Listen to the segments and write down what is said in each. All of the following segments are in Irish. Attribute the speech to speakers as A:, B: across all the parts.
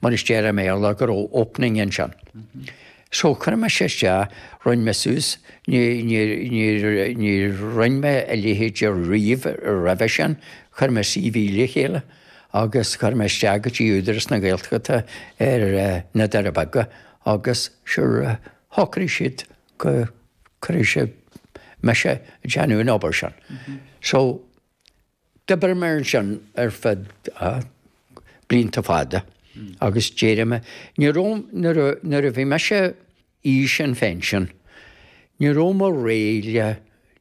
A: Mar is deir i mBéarla go raibh opening ansin. So chuir mise isteach, rinne mé suas, ní, ní, ní, ní rinne mé a leithéid riamh roimhe sin, chuir mé CV le chéile agus chuir mé isteach go dtí Údarás na Gaeltachta ar na Doirí Beaga agus sure shocraigh siad go cuirfidh siad mise ag déanamh an obair sin. So D'oibrigh mé ansin ar feadh blianta fada agus d'éirigh mé. Ní raibh, nuair a, nuair a bhí mise aois an phension, ní raibh mé réidh le,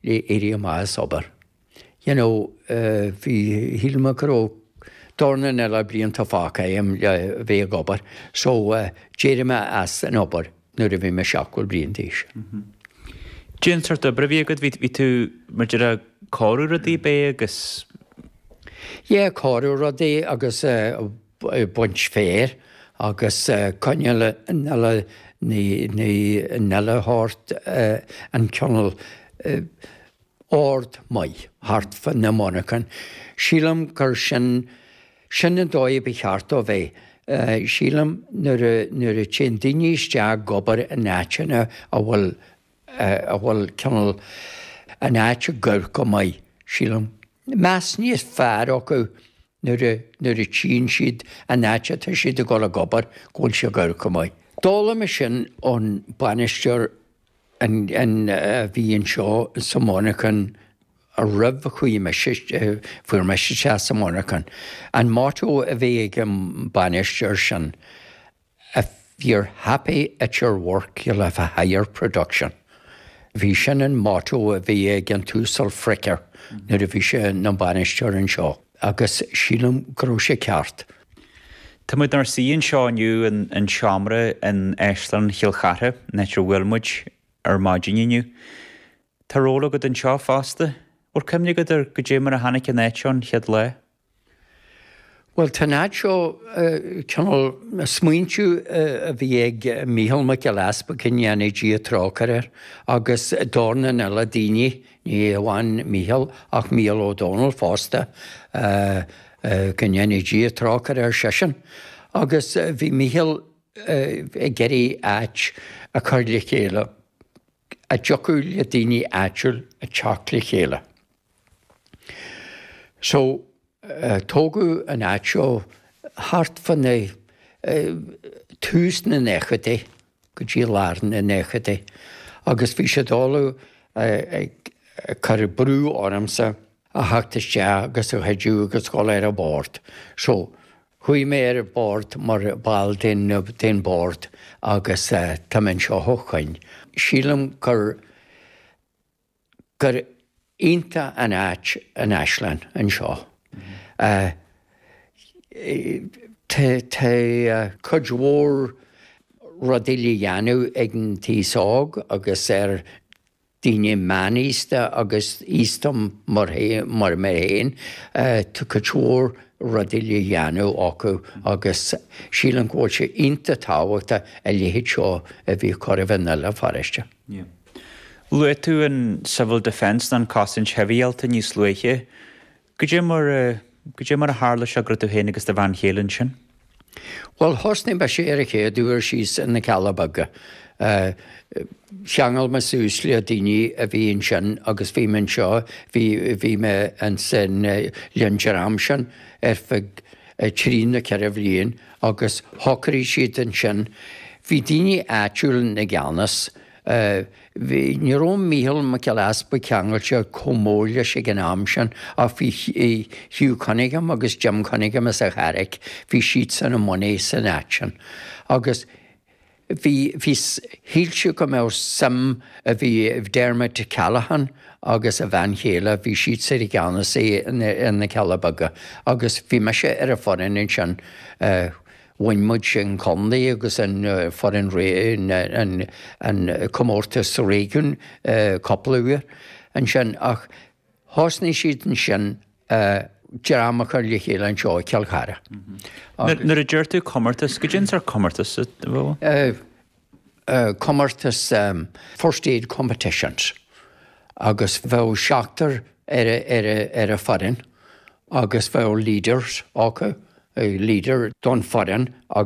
A: le éirí amach as obair. You know, bhí, shíl mé go raibh dornán eile blianta fágtha agam le bheith ag obair. So, d'éirigh mé as an obair nuair a bhí mé 70 bliain d'aois.
B: Cad é an sórt oibre a bhí agat, bhí tú mar a déarfá ag cóiriú rudaí ab é agus.
A: Yeah, cóiriú rudaí agus baint féir agus coinneáil an uile an uile shórt an cineál ord maith thart fá na monarchan. Sílim gur sin Sin an dóigh ba cheart dó bheith. Sílim nuair a, nuair a téann daoine isteach ag obair in áiteanna a bhfuil, a bhfuil cineál an áit ag amharc go maith, sílim, meas níos fearr acu nuair a, nuair a tchíonn siad an áit atá siad ag dul ag obair, go bhfuil sé ag amharc go maith. D'fhoghlaim mé sin ón bainisteoir an, an, a bhí anseo sa mhonarchan roimh a chuaigh mise, fuair mise isteach sa mhonarchan. An motto a bhí ag an bainisteoir sin, If you're happy at your work you'll have a higher production. Bhí sin an motto a bhí ag an tUasal Fricker nuair a bhí sé ina bhainisteoir anseo agus sílim go raibh sé ceart.
B: Tá muid inár suí anseo inniu in seomra in Áislann Chill Chartha, an áit ar bhuail muid ar maidin inniu. Tá ról agat anseo fosta. Bhfuil cuimhne agat ar goidé mar a tháinig an áit seo an chéad lá?
A: Bhuel, tá an áit seo cineál smaointiú a bhí ag Mícheál Mac Giolla Easpaig, go ndéana Dia trócaire air, agus dornán eile daoine, ní amháin Mícheál ach Mícheál Ó Domhnaill fosta, go ndéana Dia trócaire ar seisean. Agus bhí Mícheál ag iarraidh áit a chur le chéile. a dtiocfadh le daoine áitiúil a teacht le chéile. So, tógadh an áit seo thart fá na, tús na nóchaidí go dtí lár na nóchaidí agus bhí siad uilig ag cur brú ormsa a theacht isteach agus a chuidiú agus dhul ar an bhord. So, Chuaigh mé ar an bord mar ball den den bord agus tá mé anseo ó shoin. Sílim gur gur iontach an áit an Áislann anseo. Tá tá cuid mhór rudaí le dhéanamh ag an t-aos óg agus ar daoine meánaosta agus aosta mar mar mé féin, tá cuid mhór rudaí le dhéanamh acu agus sílim go bhfuil sé iontach tábhachtach a leithéid seo a bheith ag cur i nDoire Feirste.
B: Luaigh tú an Civil Defence nó an Cosaint Shibhialta níos luaithe. Goidé mar, goidé mar a tharla sé go raibh tú féin agus do bhean chéile ansin?
A: Bhuel, thosnaigh mise ar an chéad uair síos in na Cealla Beaga. Cheangail mé suas le daoine a bhí ansin agus bhí mé anseo, bhí, bhí mé ansin le an dream sin ar feadh trí nó ceithre bhliain agus shocraigh siad ansin, bhí daoine áitiúil ina gceannas, Bhí, ní raibh Mícheál Mac Giolla Easpaig ceangailte chomh mór leis ag an am sin ach bhí Hugh Cunningham agus Jim Cunningham as an Charraic, bhí siadsan i mbun san áit sin. Agus bhí, bhí, shíl siad go mbeadh suim, bhí Dermot Callaghan agus a bhean chéile, bhí siadsan i gceannas i na Cealla Beaga agus bhí mise ar an foireann ansin, Bhain muid an contae agus an foireann an comórtas réigiún cúpla uair ansin ach thosnaigh siad ansin dream a chur le chéile anseo i Cill Chartha.
B: Nuair a deir tú comórtas, goidé an sórt comórtas a bheadh
A: ann? Comórtas First Aid Competitions agus bheadh seachtar ar an foireann agus bheadh leaders acu. leader don foireann.